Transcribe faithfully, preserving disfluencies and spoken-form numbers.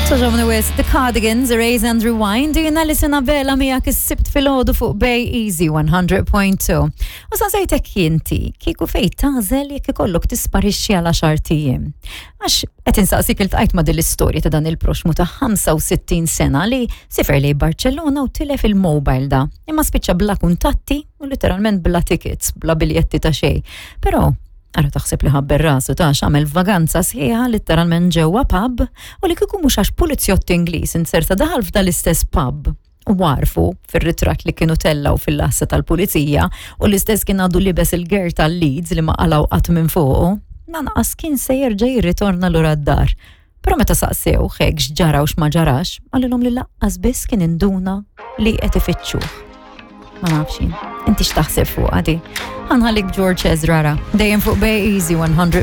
Togħġobni wisq, The Cardigans, Erase and Rewind, jiena Alison Abela miegħek is-Sibt filgħodu fuq Bay Easy one hundred point two. U saqsejtek inti, kieku fejn tagħżel jekk ikollok tisparixxi għal għaxart ijiem? Għax qed insaqsik, iltqajt ma' din l-istorja ta' dan il-proxmu ta' ħamsa u sittin sena li siefer lejn Barcellona u tilef il-mobile da. Imma spiċċa bla kuntatti u literalment bla tickets, bla biljetti ta' xejn. Però ara taħseb li ħabber rasu ta' għamel vaganza sħiħa literalment ġewwa pub u li kieku mhux għax pulizjott Ingliż inserta daħal f'dal-istess pub u għarfu fir-ritratt li kienu tellaw fil-lassa tal-pulizija u l-istess kien għadu libes il-gear tal-Leeds li ma qalgħu qatt minn fuqu, lanqas kien se jerġa' jirritorna lura d-dar. Però meta saqsew hekk x'ġara u x'ma ġarax, qalilhom li lanqas biss kien induna li qed ifittxuh. Ma nafx jien. Inti x'taħseb fuq għadi? Ħa nħallik George Ezra ra. Dejjem fuq Bay Easy one hundred.